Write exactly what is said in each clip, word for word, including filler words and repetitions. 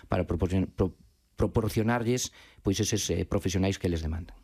para proporcionar, pro, proporcionarlles pois eses eh, profesionais que les demandan.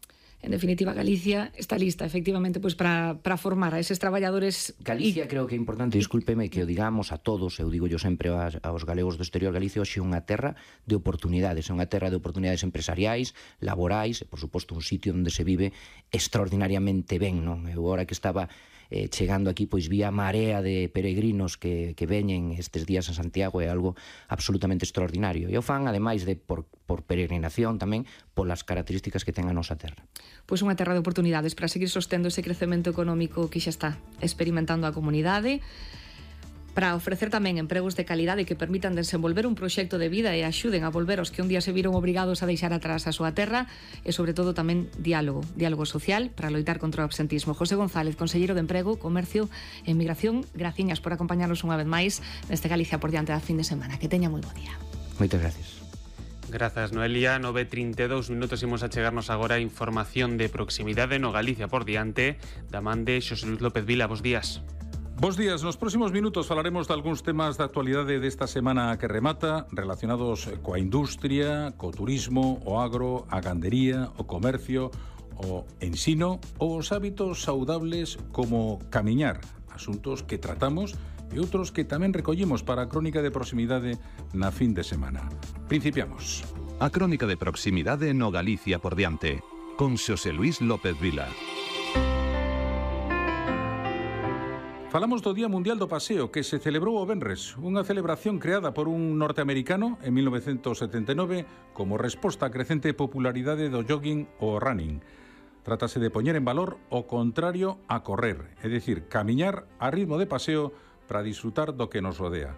En definitiva, Galicia está lista, efectivamente, pois para, para formar a eses traballadores. Galicia, y... creo que é importante, discúlpeme, que o digamos a todos, eu digo yo sempre aos, aos galegos do exterior, Galicia hoxe é unha terra de oportunidades, é unha terra de oportunidades empresariais, laborais, e, por suposto, un sitio onde se vive extraordinariamente ben, non? Eu, agora que estaba eh, chegando aquí, pois vi a marea de peregrinos que, que veñen estes días a Santiago, é algo absolutamente extraordinario. E o fan, ademais de por, por peregrinación tamén, polas características que ten a nosa terra. Pois unha terra de oportunidades para seguir sostendo ese crecemento económico que xa está experimentando a comunidade, para ofrecer tamén empregos de calidade que permitan desenvolver un proxecto de vida e axuden a volver os que un día se viron obrigados a deixar atrás a súa terra, e sobre todo tamén diálogo, diálogo social para loitar contra o absentismo. José González, conselleiro de Emprego, Comercio e Migración, graciñas por acompañarnos unha vez máis neste Galicia por diante da fin de semana. Que teña moi bo día. Moitas gracias. Grazas, Noelia. nove e trinta e dous minutos, imos a chegarnos agora a información de proximidade no Galicia por diante da man de Xosé Luis López Vila. Bos días. Bos días. Nos próximos minutos falaremos de algúns temas de actualidade desta semana que remata, relacionados coa industria, co turismo, o agro, a gandería, o comercio, o ensino, ou os hábitos saudables como camiñar, asuntos que tratamos e outros que tamén recollimos para a crónica de proximidade na fin de semana. Principiamos. A crónica de proximidade no Galicia por diante, con Xosé Luis López Vila. Falamos do Día Mundial do Paseo, que se celebrou o venres, unha celebración creada por un norteamericano en mil novecentos setenta e nove como resposta á crecente popularidade do jogging ou running. Trátase de poñer en valor o contrario a correr, é dicir, camiñar a ritmo de paseo para disfrutar do que nos rodea.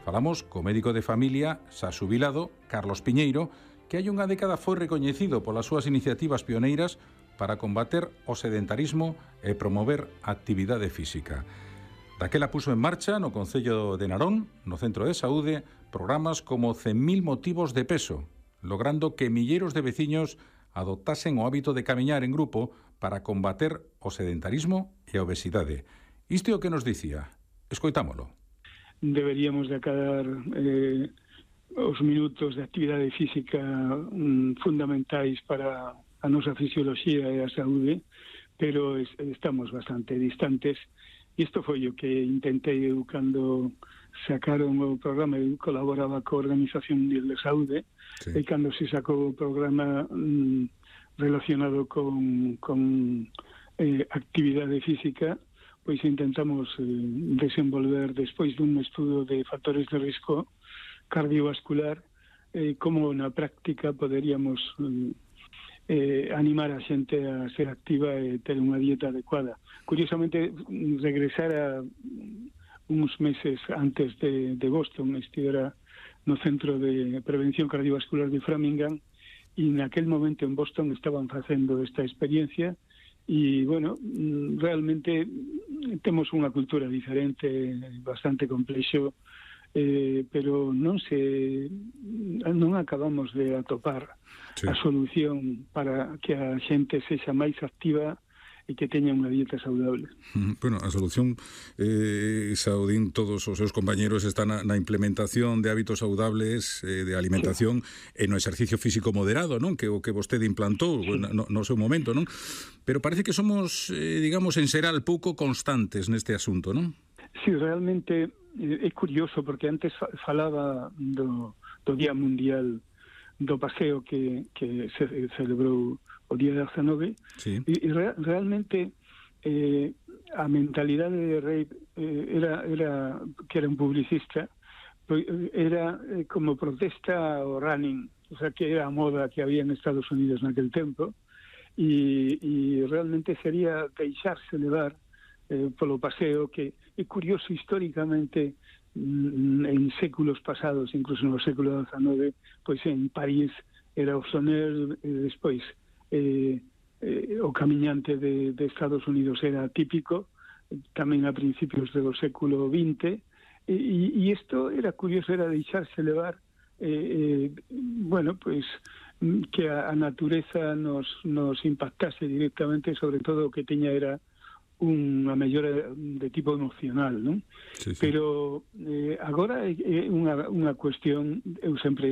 Falamos co médico de familia, xa xubilado, Carlos Piñeiro, que hai unha década foi recoñecido polas súas iniciativas pioneiras para combater o sedentarismo e promover a actividade física. Daquela puso en marcha no Concello de Narón, no Centro de Saúde, programas como cen mil motivos de peso, logrando que milleiros de veciños adoptasen o hábito de camiñar en grupo para combater o sedentarismo e a obesidade. Isto é o que nos dicía. Escoitámolo. Deberíamos de acabar eh, os minutos de actividade física mm, fundamentais para a nosa fisioloxía e a saúde, pero es, estamos bastante distantes. Isto foi o que intentei eu cando sacaron o programa. Eu colaboraba coa Organización Mundial de Saúde, sí. E cando se sacou o programa mm, relacionado con, con eh, actividade física, pois intentamos eh, desenvolver, despois dun estudo de factores de risco cardiovascular, eh, como na práctica poderíamos eh, eh, animar a xente a ser activa e ter unha dieta adecuada. Curiosamente, regresar a uns meses antes de, de Boston, estivera no Centro de Prevención Cardiovascular de Framingham, e naquel momento en Boston estaban facendo esta experiencia. E, bueno, realmente temos unha cultura diferente, bastante complexo, eh, pero non se non acabamos de atopar sí. a solución para que a xente sexa máis activa e que teña unha dieta saudable. Bueno, a solución, eh, Saudín, todos os seus compañeros están na, na implementación de hábitos saudables, eh, de alimentación sí. e no exercicio físico moderado, non? Que o que vostede implantou sí. no, no seu momento, non? Pero parece que somos, eh, digamos, en xeral pouco constantes neste asunto, non? Sí, realmente eh, é curioso, porque antes falaba do, do Día Mundial do Paseo que, que se celebrou o día dezanove, sí. e, e re, realmente eh, a mentalidade de Rey eh, era, era que era un publicista, era eh, como protesta ao running, o sea, que era a moda que había en Estados Unidos naquel tempo, e, e realmente sería deixarse levar eh, polo paseo, que é curioso históricamente en séculos pasados, incluso no século dezanove, pois en París era o soner, e despois Eh, eh, o camiñante de, de Estados Unidos era típico, tamén a principios do século vinte, e, e isto era curioso, era deixarse levar, eh, eh, bueno, pois que a, a natureza nos, nos impactase directamente, sobre todo o que teña era unha mellora de tipo emocional, non? Sí, sí. Pero eh, agora é unha, unha cuestión, eu sempre